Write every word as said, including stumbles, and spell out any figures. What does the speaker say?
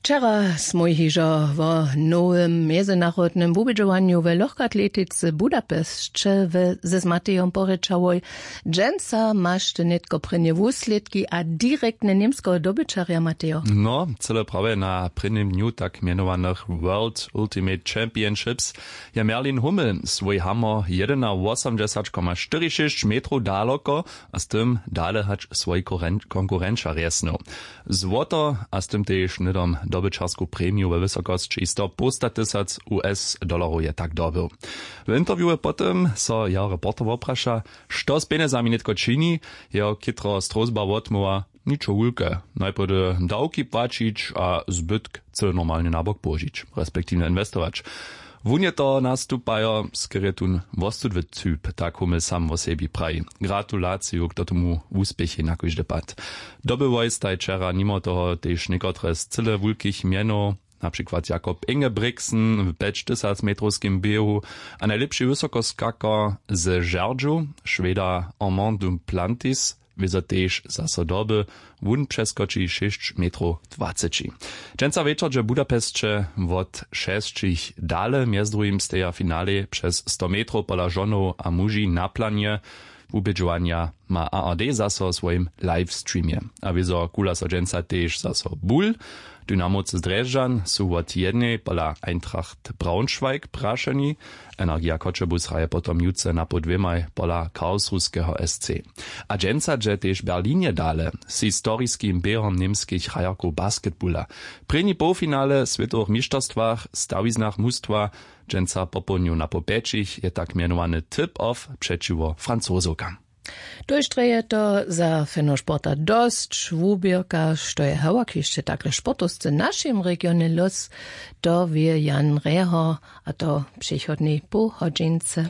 Wčera smój hižo wo nowym mjezynarodnym wubědźowanju we lochkatletice w budapesće we, ze z matejom porěčałoj. Dźensa maš ty nětko prěnje wuslědki a direktne němskeho dobyćerja matejo. No, cyle prawje na prěnim dnju tak mjenowanych world ultimate championships je merlin hummel swój hamor jedenawosomdźesać koma štyri šěsć metrow daloko a z tym dale hač swój konkurenča rjesnył. Złoto a z tym tež hnydom dobyćarsku premiju we wysokosći sto połsta tysac us dolarow je tak dobył. W interviewe potom so jeho reporter wopraša, što z pjenjezami nětko čini. Jeho chytro strózba wotmołwa: ničo wulke, najprjedy dawki płaćić a zbytk cyle normalnje na bok połožić, respektiwnje inwestować. Wón je to nastupajo skerjetun wostudwy typ, tak hummel sam wo sebi praji. Gratulaciju k tomu wuspěchej na kóždy pad. Dobyłoj staj wčera nimo toho tež někotre z cyle wulkich mjenow, na přikład jakob ingebrigtsen w pjećtysacmetrowskim běhu a najlěpši wysokoskakar ze žerdźu, šweda armand duplantis, wězo tež zaso doby. Wón přeskoči šěsć metrow dwaceći. Dźensa wječor dźe w budapesće wot šesćich dale, mjez druhim steja w finalej přez sto metrow pola žonow a muži na planje. Wubědźowanja ma ard zaso w swojim livestreamje. A wězo kula so dźensa tež zaso bul. Dynamowcy z drježdźan su wot jednej pola eintracht braunschweig prašeni. Energija choćebuz hraje potom jutře napoł dwěmaj pola karlsruhskeho sc. A dźensa dźe tež w berlinje dale z historiskim běhom němskich hrajerkow basketbula. Prěni połfinale w swětowych mišterstwach w stawiznach mustwa dźensa popołdnju napoł pjećich je tak mjenowany tip-off přećiwo francozowkam. Tójštre je to za fenošporta dosć wuběrka, što je hewak hišće takle sportowsce w našim regionje los, to wě jan reho, a to w přichodnej połhodźince.